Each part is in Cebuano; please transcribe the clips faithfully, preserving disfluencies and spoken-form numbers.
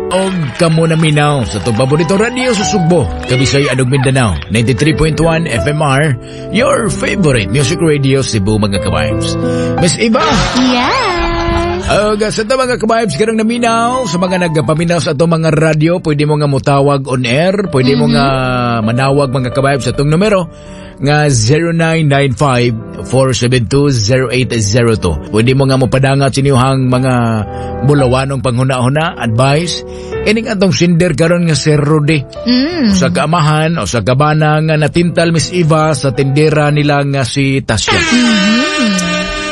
Og kamo naminaw sa atong paborito radio sa Sugbo, Kabisay ug Mindanao, ninety-three point one F M R, your favorite music radio Cebu, mga ka-vibes. Miss Iba, Yes! Og sa ito, mga ka-vibes, karong naminaw, sa mga nagpaminaw sa atong mga radyo, pwede mo nga mutawag on air, pwede mo nga manawag, mga ka-vibes, sa atong numero nga zero nine nine five, four seven two, zero eight zero two. Pwede mo nga mopadangat sa inyong mga bulawanong panghuna-huna, advice. Ining atong sender karon nga si Rudy. Mm. Sa kaamahan o sa kabana nga natintal, Miss Eva, sa tindera nila nga si Tasya.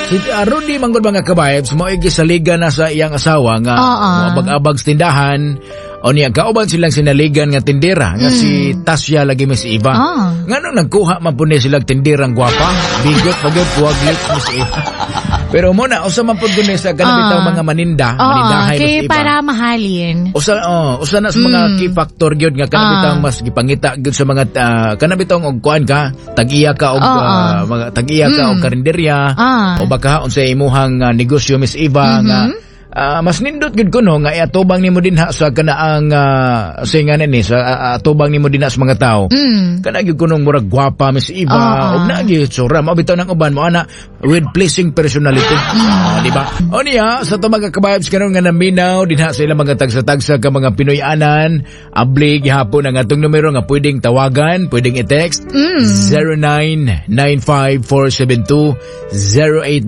Si uh, Rudy manggod, mga ka-vibes, mo gisaligan na sa iyang asawa nga Oo. moabag-abag sa tindahan o niya kauban silang sinaligan nga tindera nga si Tasya lagi, Miss Eva. Ah. Nganong nagkuha man po ni silang tinderang gwapa, bigot pagod puwag lips, Miss Eva. Pero mo na usa man pud gud sa kanang bitaw Ah. mga maninda, Oo, manindahay, kay Miss Eva. Para mahalin. Usa oh, usa na sa mga key factor gyud nga kanang Ah. bitawng mas gipangita gyud sa mga uh, kanang bitawng og kuan ka, tag-iya ka og Oo. ah, mga tag-iya ka og karinderya Ah. o baka unsay imuhang ah, negosyo, Miss Eva, nga ah, mas nindot gyud kuno nga iatubang nimo dinha sa kanaang uh, singa ni sa ah, atubang nimo dinha sa mga tao. Mm. Kana gyud kunong murag gwapa, Miss Eva, Oo. ug na gyud tsura mao bitaw ng uban mo ana with pleasing personality. Oh, di ba? O niya sa to, mga ka-vibes, karon nga naminaw dinha sa ilang mga tagsa-tagsa ka mga Pinoy-anan, abli gihapon ang atong numero nga pwedeng tawagan, pwedeng i-text, zero nine nine five, four seven two, zero eight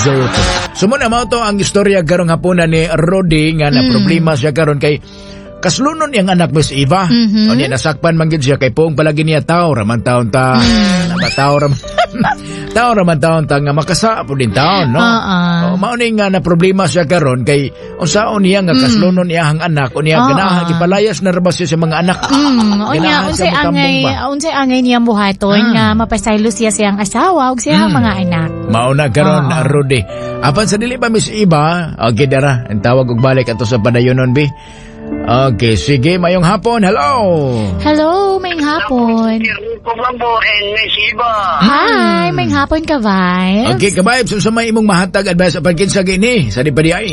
zero two. So mo na mao to ang istorya karong hapunan ni Rody nga na problema siya karon kay kaslunon niyang anak, Miss Eva. Mm-hmm. O niya nasakpan man gyud siya kay poong palagi niya tao raman taon ta. Mm. Tao raman tao raman taon ta nga makasa po din taon, no? Oo. O, mao ni nga na problema siya karon kay unsaon niya nga kaslunon niya ang anak o niya Oo. ganahan gipalayas na ra ba siya sa mga anak. Mm, unya Ganahan unsay siya motambong angay ba? Unsay angay niyang buhaton Mm. nga mapasaylo siya siyang asawa ug siyang mga anak. Mao na karon, Oo. Rudy. Apan sa dili pa, Miss Iba, okay dara, ang tawag og balik ato sa padayonon bi. Okay, sige, mayong hapon. Hello. Hello, mayong hapon. Rico Bambo and Miss Iba. Hi, mayong hapon ka, Vibes. Okay, ka-vibes, unsa may imong mahatag advice apan kinsa gini sa di pa di ay?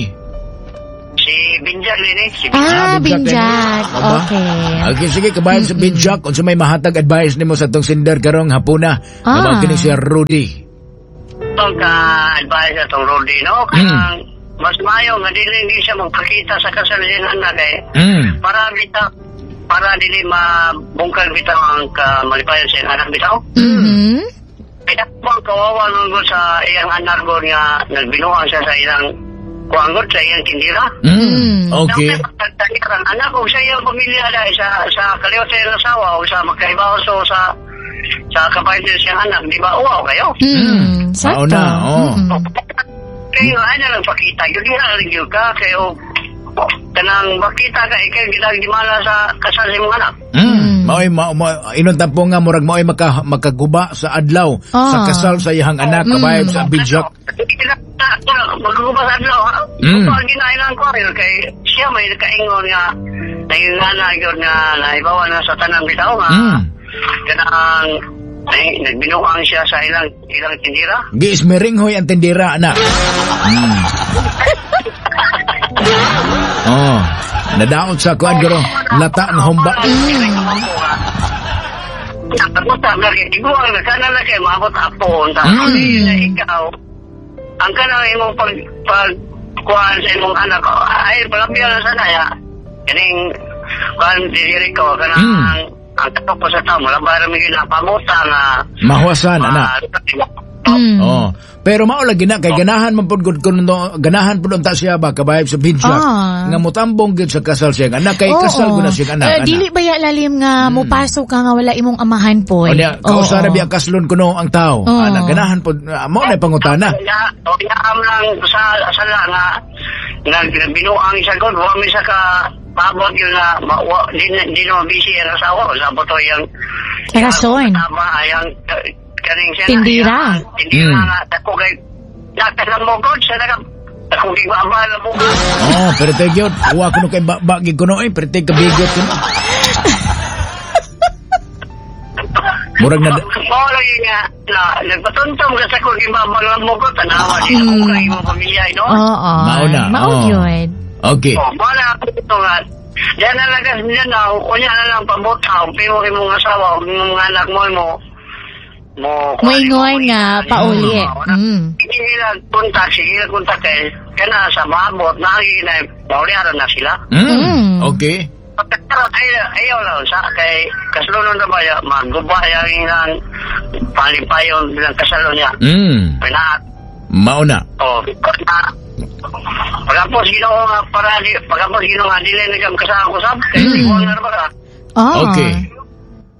Si Binjag din eh. Si Binjag. Ah, Binjak Binjak. din. Aba. Okay. Okay, sige, ka-vibes, sa Binjak, unsa may mahatag advice nimo sa atong sender karong hapuna? Ah. Ah. Kini si Rudy. Itong ka-advise atong Rudy, no? Kanang mas mayo nga dili hindi siya magpakita sa kasal niyang anak eh. Mm. Para bitaw, para dili mabungkal bitaw ang kamalipayan sa iyang anak bitaw. Mhm. Kaya po ang kawawa nun sa iyang anak ko nga nagbinuang siya sa iyang kuangot sa iyang tindira. Mm. Okay. Ang anak o sa iyang pamilya dahil sa sa kaliwat sa iyang asawa o sa magkaibaw so sa sa kapatid sa iyang anak, di ba uwaw kayo? Mm. Sakto. Mao na, oh. Mm-mm. Kayo ay na lang pakita, yun na lang yun ka, kayo kanang makita ka, ikaw gitang gimala sa kasal sa imong anak. Mm. Maoy ma, ma, inon tampo nga murag maoy maka, makaguba sa adlaw Ah. sa kasal sa iyang anak, ka-vibes, sa Binjak. Magguba sa adlaw, ha? Mm. Mm. Ginailan ko rin, kay siya may nakaingon nga, nangingana yun nga, naibawa na sa tanang bitaw nga, Mm. kanang, ay, nagbinuang siya sa ilang ilang tindira. Giismiringhoy ang tindira, anak. Mm. Oh, nadaot sa kuan guro, lata ng humba. Nakapunta na kay tiguang na sana na kay maabot apon ta. Mm. Na ikaw ang kanang imong pag pag kuan sa imong anak ay palapyan na sana ya. Kaning kuan diri ko kanang Mm. ang tapo sa tao wala ba ra mi ginapamuta nga Mahuwasan, anak. Mm. Oh. Pero mao lagi na kay ganahan man pud gud kuno, ganahan pud unta siya ba, ka-vibes, sa Binjak Ah. nga motambong gyud sa kasal siyang anak kay Oo. kasal gud na siyang anak. Eh, Anak. dili ba ya lalim nga mupasok ka nga wala imong amahan po? O niya, kausara biya kaslon kuno ang tao. Oo. Anak, ganahan pud ah, mao na pangutana. Ya, o yaam lang sa sala nga nga binuang siya god, wa mi sa ka paabot yun na ma, wa, di, na- di na busy ang asawa sa boto yang Rason. Tama ayang kaning siya na, Tindira. iyang tindira Mm. nga ako kay nakalang mo god sa naka ako gibaba mo god. Oh, pero gyud, wa kuno kay ba gid kuno eh, pero kabigot kuno. Murag na Mao lagi nga na nagpatuntong ka sa kong gibaba mo god, tanawa di ako kay imong pamilya, no? Oo. Mao na, Mao oo. yun. Okay. Oh, mao na ako ito nga Diyan na lang kasi Mindanao, unya na lang pabuta, pimo imong asawa, ug imong mga anak mo mo mo Moingon nga pauli. Mm. Hindi nila kontak, sige nila kontak kay kana sa maabot na na pauliaran na sila. Mm. Mm. Okay. Pagkakaroon ay ayaw lang sa kay kaslunon na ba ya maguba yang ilang palipayon bilang kasalo niya. Mm. Pinaat Mao na. oh na Pagkapos Ginoo nga para di pagkapos Ginoo nga dili na kam kasama ko sab kay mm. na ba ka. Oh. Okay.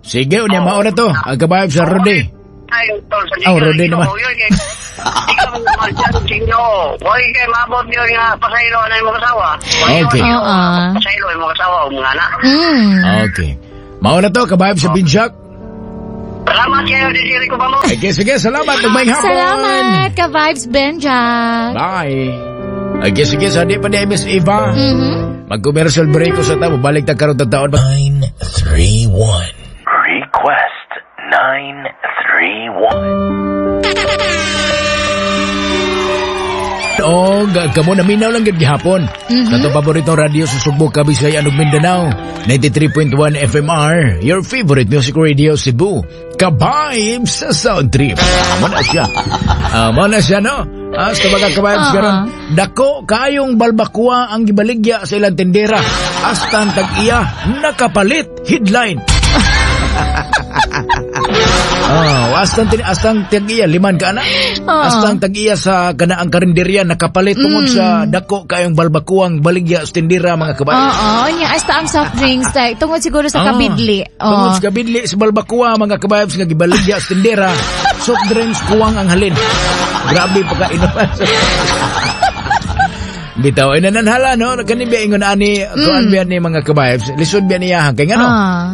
Sige, unya mao na to. Ang kabayab sa Rode. Ay, tol, sa Oh, Rode naman. Yun, kay, ikaw naman dyan, Ginoo. Huwag kay maabot yun nga pasaylo na imong asawa. Okay. Oo. Pasaylo imong asawa o mga anak. Mm. Okay. Mao na to, kabayab sa Binjak. Salamat kayo, diri ko pa mo. Okay, sige, salamat. Maayong hapon. Salamat, ka-vibes Benjack. Bye. Okay, sige, sa di pa ni Miss Eva. Mhm. Mag-commercial break ko sa tao. Balik ta karon taon. Nine three one. Request nine three one. O, kamo naminaw lang gid gihapon. Sa atong paboritong radyo sa Sugbo, Kabisayan ug Mindanao. ninety-three point one F M R, your favorite music radio Cebu. Ka-vibes sa Sound Trip. Mo na siya. Ah, mo na siya, no? Ah, sa mga ka-vibes Oo. karon, dako kayong balbakwa ang gibaligya sa ilang tindera. Hasta ang tag-iya nakapalit headline. Oh, hasta ang hasta ang tag-iya liman ka ana. Oo. Hasta ang tag-iya sa kanaang karinderya nakapalit tungod sa dako kayong balbakuang baligya sa tindera, mga kabayan. Oo, nya hasta ang soft drinks like tungod siguro sa Ah, kabidli. Oo. Tungod sa kabidli sa balbakua, mga kabayabs, nga gibaligya sa tindera, soft drinks kuwang ang halin. Grabe pagkainom. Bitaw, ay nananhala, no? Kani biya ingon ani, kuan biya ni mga kabayabs, lisod biya niya kay ngano? Ah.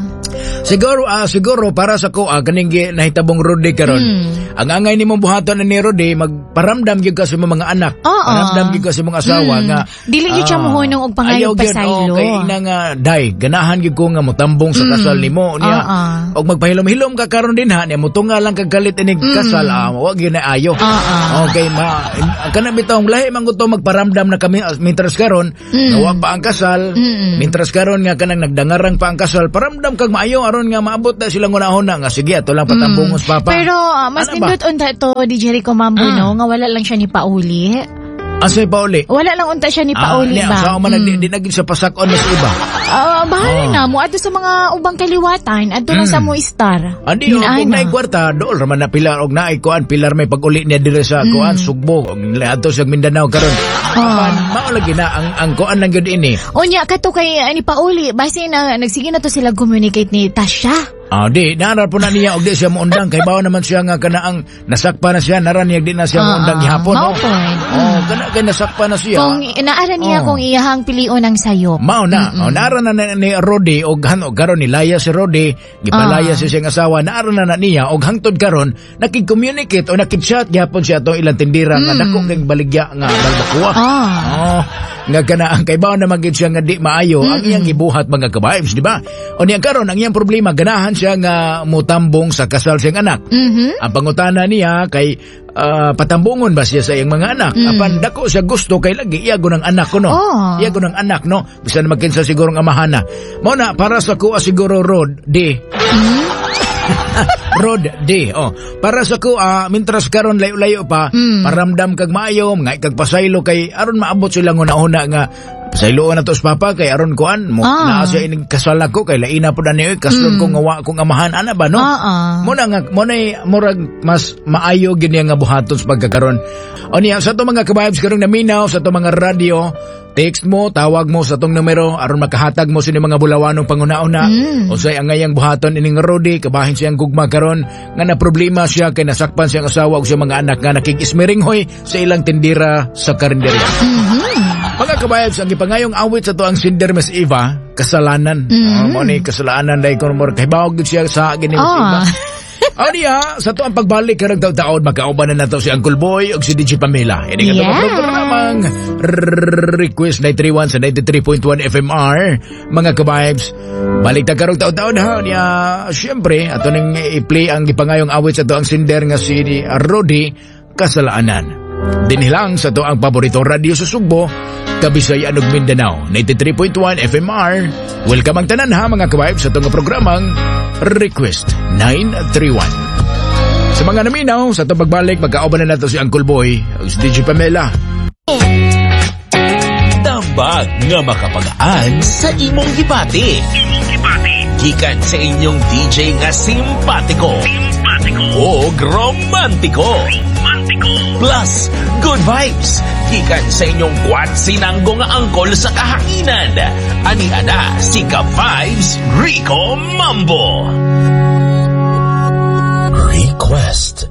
Siguro, ah, siguro para sa ko, ah, kaning gi- nahitabong Rode karon. Mm. Ang angay nimong buhaton ni Rode, magparamdam gyud ka sa imong mga anak. Oo. Paramdam gyud ka sa imong asawa Mm. nga Dili gyud siya ah, muhunong og pangayog ayaw gyud, pasaylo. oh, kay ina nga day, ganahan gyud ko nga motambong sa kasal nimo niya. Oo. Og magpahilom-hilom ka karon din ha, niya motunga lang kag galit inig kasal, ah, wa gyud na ayo. Oo. Okay, ma kana bitawng lahi man gud to magparamdam na kami ah, mintras karon nga wa pa ang kasal, Mm. mintras karon nga kanang nagdangarang pa ang kasal, paramdam kag maayo aron nga maabot na silang unahon nga sige ato lang patambongos papa. Pero ah, mas Ano ba? nindot unta to D J Rico Mambo Mm. no nga wala lang siya ni pauli. Asay pauli? Wala lang unta siya ni pauli Ah, ba? Sa man mm. di, di naging sa pasakon mas iba. Ah, bahala Oh. na mo adto sa mga ubang kaliwatan, adto lang Mm. sa mo star. Andi og Yun, kung ana. naay kwarta dool raman na pilar og naay kuan pilar may pag-uli niya dire sa kuan Sugbo og adto sa Mindanao karon. Apan mao lagi na ang ang kuan lang gyud ini. Unya kato kay ani pauli, basin na nagsige na to sila communicate ni Tasha. Ah, di, naaral po na niya og di siya muundang kay bawa naman siya nga kanaang nasakpa na siya, nara niya di na siya Ah, muundang gihapon, mao no? pod. Oh, kana kay nasakpa na siya. Kung naara niya Oh. kung iyahang pilion ang sayop. Mao na, oh, naara na, na ni Rodi og hano karon nilaya si Rodi, gipalaya Ah. siya siyang asawa, naara na na niya og hangtod karon nakig-communicate o nakig-chat gihapon siya atong ilang tindira nga dako kay baligya nga balbakuwa. Ah. Oh, nga kana ang kaybaw na magid siya nga di maayo ang iyang gibuhat, mga ka-vibes, di ba? O niya karon ang iyang problema, ganahan siya nga mutambong sa kasal siyang anak. Mhm. Ang pangutana niya kay ah, patambungon ba siya sa iyang mga anak? Apan dako siya gusto kay lagi iya ng anak ko, no. Oh. Iya ng anak, no. Bisan magkinsa siguro ang amahana. Mao na para sa kuha siguro Rod D. Rod D. Oh, para sa ko ah, mintras karon layo-layo pa, paramdam kag maayo, nga kag pasaylo kay aron maabot sila una-una nga pasayloon na to sa papa kay aron kuan mo Ah. naa siya inig kasal ako kay laina po na niyo kaslon ko nga wa kong amahan ana ba, no? Ah, ah. Mo na nga mo na murag mas maayo gini nga buhaton sa pagkakaron. O niya sa ato mga ka-vibes karong naminaw sa ato mga radyo, text mo, tawag mo sa atong numero aron makahatag mo sa mga bulawanong panguna-una. Mm. Unsay ang ngayang buhaton ining Rodi, kabahin siyang gugma karon nga na problema siya kay nasakpan siyang asawa ug siyang mga anak nga nakig-ismiringhoy sa ilang tindira sa karinderya. Mga ka-vibes, ang gipangayong awit sa atoang sender, Miss Eva, "Kasalanan." Mm. Uh, mo ni "Kasalanan" dahil kung mo kahibaw gid siya sa gini, Miss Ah. Eva. O niya, sa to ang pagbalik karong taon, magkauban na nato si Uncle Boy ug si D J Pamela. Ini nga Yes. yes. programang Request nine three one sa ninety-three point one F M R. Mga ka-vibes, balik ta karong taon-taon ha. Niya, siyempre, ato ning i-play ang gipangayong awit sa to ang sender nga si Rodi, "Kasalanan." Dinhi lang sa atoang paborito radio sa Sugbo, Kabisayaan ug Mindanao, ninety-three point one F M R. Welcome ang tanan ha, mga ka-vibes, sa atong programang Request nine three one. Sa mga naminaw, sa atong pagbalik, magkauban na nato si Uncle Boy, ug si D J Pamela. Tambag nga makapagaan sa imong gibati. Gikan sa inyong D J nga simpatiko. Simpatiko. O romantiko. Romantiko. Plus, good vibes. Gikan sa inyong kwatsinanggo nga angkol sa kahanginan. Ani ana si Ka-Vibes Rico Mambo. Request